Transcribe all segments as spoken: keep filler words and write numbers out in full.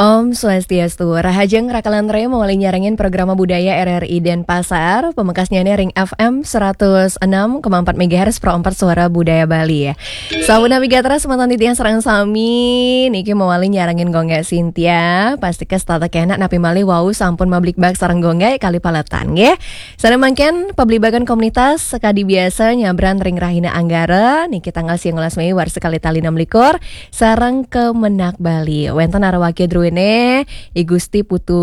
Om Swastiastu, rahajeng rakalantre mawali nyarengin programa budaya R R I Denpasar, pamekasnyane ring F M seratus enam koma empat megahertz Pro empat Suara Budaya Bali. Sampun napi gatra semeton titiang sareng sami, niki mawali nyarengin Gung Gek Sintia, pastika setata kenak napi malih wau sampun mablikbak sareng Gung Gek kali paletan nggih. Sane mangkin pablibakan komunitas sakadi biasa nyabran ring rahina Anggara, niki tanggal siang welas Mei warsa kalih tali enam likur, sareng Kemenag Bali. Wenten arawakya druene, I Gusti Putu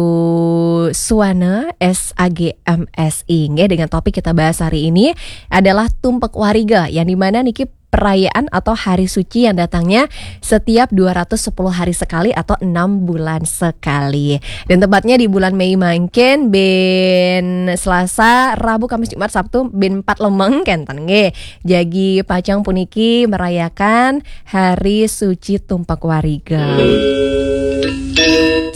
Suwana, S A G M S I. Nggih, dengan topik kita bahas hari ini adalah Tumpek Wariga, yang dimana niki perayaan atau hari suci yang datangnya setiap dua ratus sepuluh hari sekali atau enam bulan sekali. Dan tepatnya di bulan Mei mangkin, bin Selasa, Rabu, Kamis, Jumat, Sabtu, bin empat lemeng kenten nggih. Jagi pacang puniki merayakan Hari Suci Tumpek Wariga.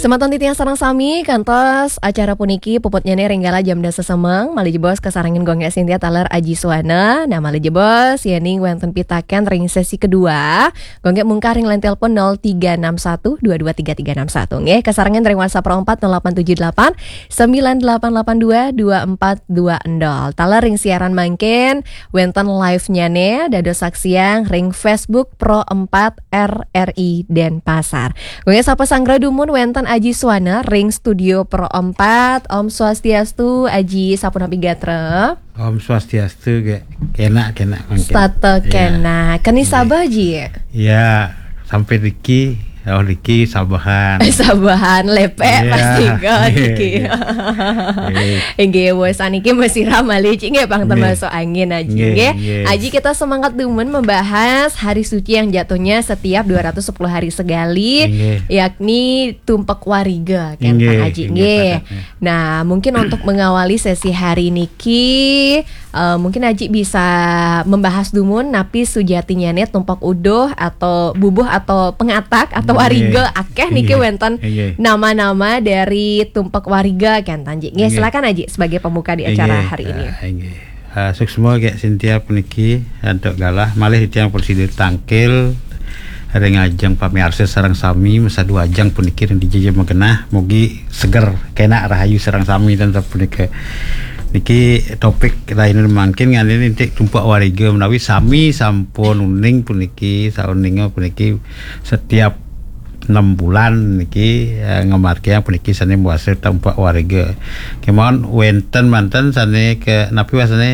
Semeton titiang sareng sami, kantos acara puniki puputnyane ring galah jam dasa semeng, malih jebos kasarengin Gung Gek Sintia taler Aji Suwana. Nah, malih jebos yening wenten pitaken ring sesi kedua, Gung Gek mungkah ring line telepon nol tiga enam satu dua dua tiga tiga enam satu nggih, kasarengin ring WhatsApp nol empat nol delapan tujuh delapan sembilan delapan delapan dua dua empat dua nol. Taler ring siaran mangkin, wenten live-nyane, dados saksian ring Facebook Pro empat R R I Denpasar. Gung Gek sapa sanggra dumun wenten Aji Suwana ring studio Pro empat. Om Swastiastu, Aji, sapunapi gatra? Om Swastiastu, Gek. Kenak, kenak mangkin. Setata kenak. Keni sabeh, Ji? Ya, sampai riki, oh, riki sabehan. Sabehan, lepek, pasti ke riki. Nggih. Inggih, wes saniki masira malih, Ji, nggih, pang termasuk angin, Aji, nggih. Aji, kita semangat dumun membahas hari suci yang jatuhnya setiap dua ratus sepuluh hari sekali, yakni Tumpek Wariga, kan, Pak Aji, nggih. Nah, mungkin untuk mengawali sesi hari niki, eh, mungkin Aji bisa membahas dumun napi sujatinyane tumpek uduh atau bubuh atau pengatak atau wariga, akeh niki wenten nama-nama dari Tumpek Wariga, kan, Ji. Nggih, silakan Aji sebagai pembuka di acara hari ini. Ah, nggih. Ah, suksma Gek Sintia puniki antuk galah, malih titiang prasida tangkil ring ajeng pamiarsa sareng sami, masadu ajeng puniki ring dija magenah, mugi seger, kenak, rahayu sareng sami ten punika. Niki topik rahina mangkin nganggone indik Tumpek Wariga, menawi sami sampun uning puniki, sauninga puniki setiap enam bulan niki, eh, ngamargiang puniki sane mawasta Tumpek Wariga. Kemawon wenten manten sane ke napi wasane